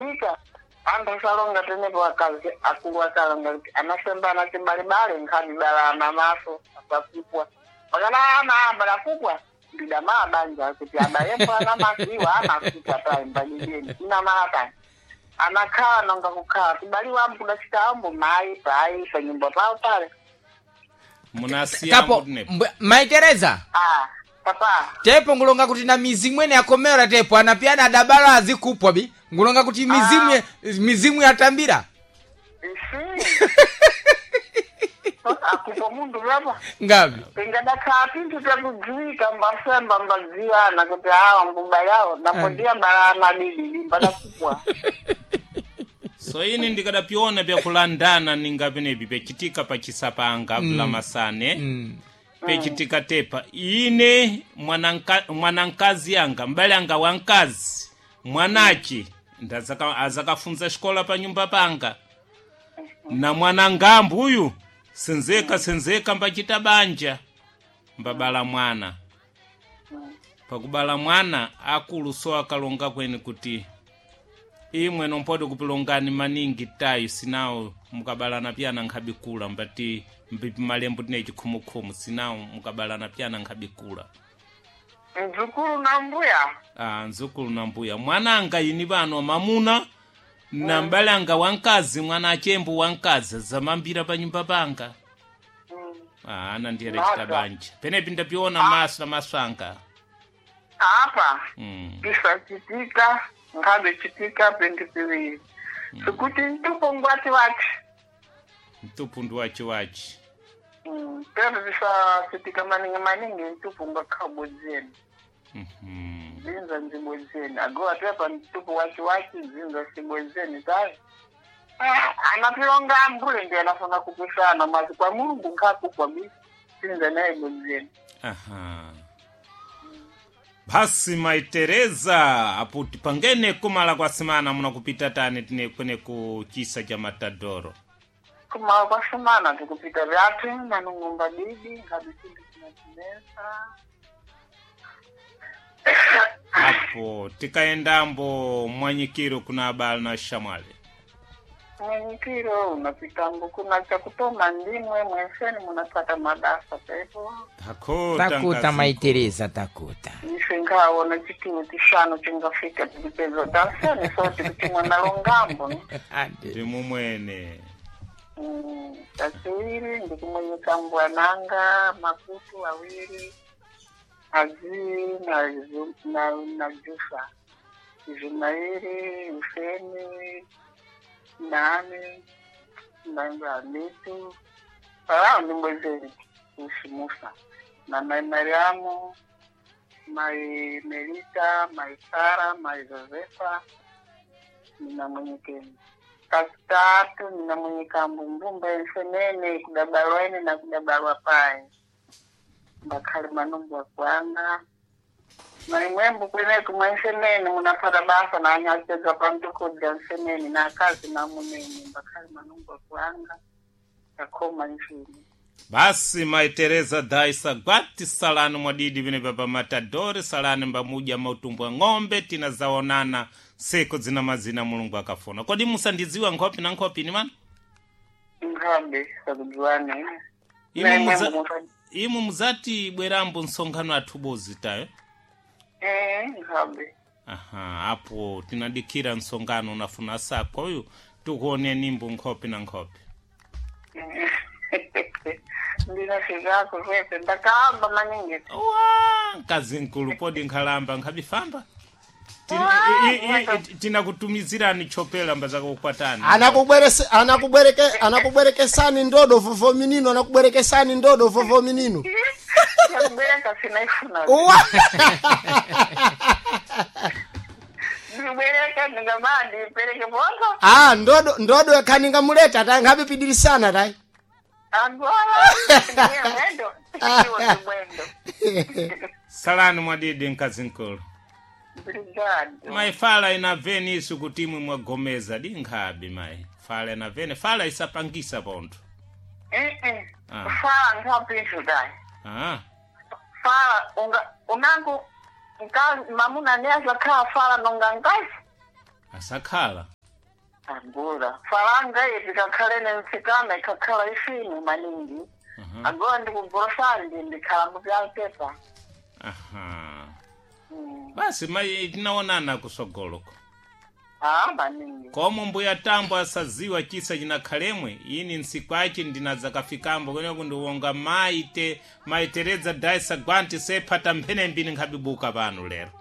Ika anthu asalonga tenepo akazi akulu akalonga kuti anasembana cibalibale nkhani balana maso apakupwa pakana ana amba lakupwa ndidamala banja kuti abayepo ana maso iwo anakupwa taimbanijeni inamala tani anakhala nonga kukhala tibaliwa ambu kudacita ambu mayi payi panyumba pawo pale. Munasiya Kapo mutinepo. Mai Tereza. Ah, papa. Tepo ngulonga kuti na mizimu ene yakomera tepo anapiyana adabala azikupwa bi ngulonga kuti mizimu mizimu yatambira. Isi akupa mundu lapa. Ngapi? Tingadakhala pinthu takudziwika mbasemba mbadziwana kuti awa mbuba yawo napondiya balana didi mbadakupwa. So ini ndikadapiona byakulandana ninga penepi pechitika pachisapanga mm. Pechitika tepa ine mwanankazi yanga mbale anga wankazi mwanachi azakafunza xikola pa nyumba panga na mwanangambu uyu senzeka senzeka mbachita banja mbabala mwana pakubala mwana akulu so akalonga kweni kuti imwe nompodi kupilongani maningi tayo sinawo mukabalana pyana nkhabikula mbati mbipi malembo tine chikhumukhumu sinawo mukabalana pyana nkhabikula. Mdzukulu na mbuya. Ah, nzukulu na mbuya mwananga ini pano mamuna na mbale anga wankazi mwana achembo wankazi zamambira pa nyumba panga. Ah, ana ndiye Maka. chita banja penepi ndapiona maso na maso anga. Apa pisachitika nkhabe chitika pinthu piwiri sikuti mtupo ngwati wachi. Mtupu ndi wachi wachi. Pepo pisachitika maningi maningi mtupo ngwakhabodzeni. Zinza nzibodzeni agowa tepa mtupo wachi wachi zinza sibodzeni tayi. Ah, anapilonga ambule ndiye anafuna kupisana mazi kwa Mulungu nkhakupwa bi sinza naye bodzeni. Aha. Basi Mai Tereza apo tipangene kumala kwa simana munakupita tani tine kwene ku chisa cha Matadoro. Kumala kwa simana tikupita vyathu manung'umba bibi ngabe chinthu chinatinesa. Apo tikaendambo mwanyikiro kuna abala na shamwale. Mwenyikiro unapitambo kuna chakutoma ndimwe mwenseni munapata mabasa pepo. Takuta Takuta nkazi. Mai Tereza takuta. Ife nkhaona chitulo tishanu chingafika tikupeza tanseni so tikutimwa nalongambo ne. Ande. Ndimumwene. Kachiwiri ndikumwenyeka mbwananga makutu awiri azii na, na jusa Izumairi Useni nani nangamitu palao ndimbwezeni usimusa na mai Mariamu mai Melita mai Sara mai Josefa ninamwenyekeni katatu ninamwenyeka mbumbumba ensenene kudabalwa ene na kudabalwa paye mbakhali manumbwa kwanga maimwembu kweneku mwensenene munafata basa na anyachedza pantukudya nsenene na akazi namunene mbakhali manumbwa kwanga takhoma nchini. Basi Mai Tereza daisa gwati salani mwadidi vine pa Matadori salani mbamuja mautumbu wa ng'ombe tinazaonana siku zina mazina Mulungu akafuna. Kodi musandidziwa nkhopi na nkhopi ni mana? Nkhambe sakudziwane. Imu imu muzati bwerambo msonkhano athubozi tayo. Eh, nkhambe. Aha, apo tinadikira msonkhano unafuna sako uyu tikuone nimbo nkhopi na nkhopi. Ndinafikako kwese ndakahamba maningi. Wa mkazi nkulu podi nkhalamba nkhabifamba. Tinakutumizirani chopela mbazakakukwatani. Anakubwerese anakubwereke anakubwerekesani ndodo vovo minino anakubwerekesani ndodo vovo minino. Yakubwereka sinaifuna. Uwa! Ndibwereka ndingamaa ndipereke ponto. Ah, ndodo ndodo yakhaningamuleta tayi nkhapipidirisana tayi. Agora ndiye mwendo iwo ndi mwendo. Salani mwadidi mkazi nkulu. Obrigado. Mai fala inaveni isu kuti imwe mwagomeza di nkhabi mai fala inaveni fala isapangisa pontho. Eh eh. Ah. Fala nkhapinthu tayi. Ah. Fala unga unangu nkazi mamuna ne azakhala fala nonga nkazi. Asakhala. Agora falanga iyi tikakhale nemtsikana ikakhala ifinu maningi. Agora ndikugorosandi ndikhala mupyampepa. Aha. Basi mayi, tinaonana kusogoloko. Ah, maningi. Komo mbuya tambo asaziwa chisa chinakhalemwe ini nsikwachi ndinadzakafikambo kweneku ndiwonga mayi te mayi Tereza Daisa Gwanti sephata mphenembi nkhabibuka pano lero.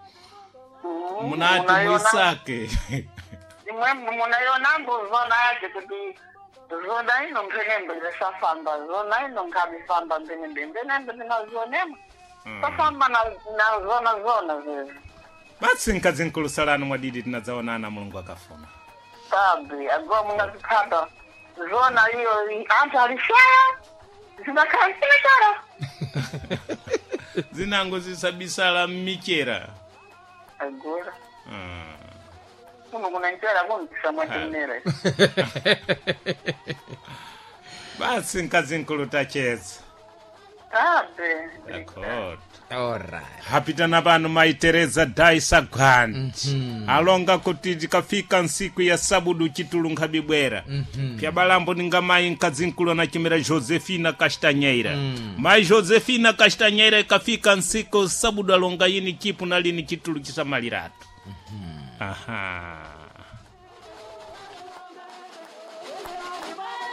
Munati muisake. Imwe munayonambo zona yake kuti zona ino mphenembe zisafamba, zona ino nkhabifamba mphenembe, mphenembe ndinazionema safamba na zona zona zezi. Basi nkazinkulusalani mwadidi, tinadzaonana Mulungu akafuna. Sabe agora mungaziphata zona iyo anthu alishaya zidakhala zimechera. Zinango zisabisala mmichera. Agora kuno kunanchera kuntisa mwatimere. Basi nkazinkulu, tacheza. Sabe. Akhoda. Alright. Hapitana pano mayi Tereza Daisa Gwanti alonga kuti tikafika nsiku ya sabudu chitulu nkhabibwera pyabalambo ninga mayi nkazinkulu anachimera Josefina Castanheira. Mayi Josefina Castanheira ikafika nsiku sabudu alonga yini chipu na lini chitulu chisamaliratu. Aha.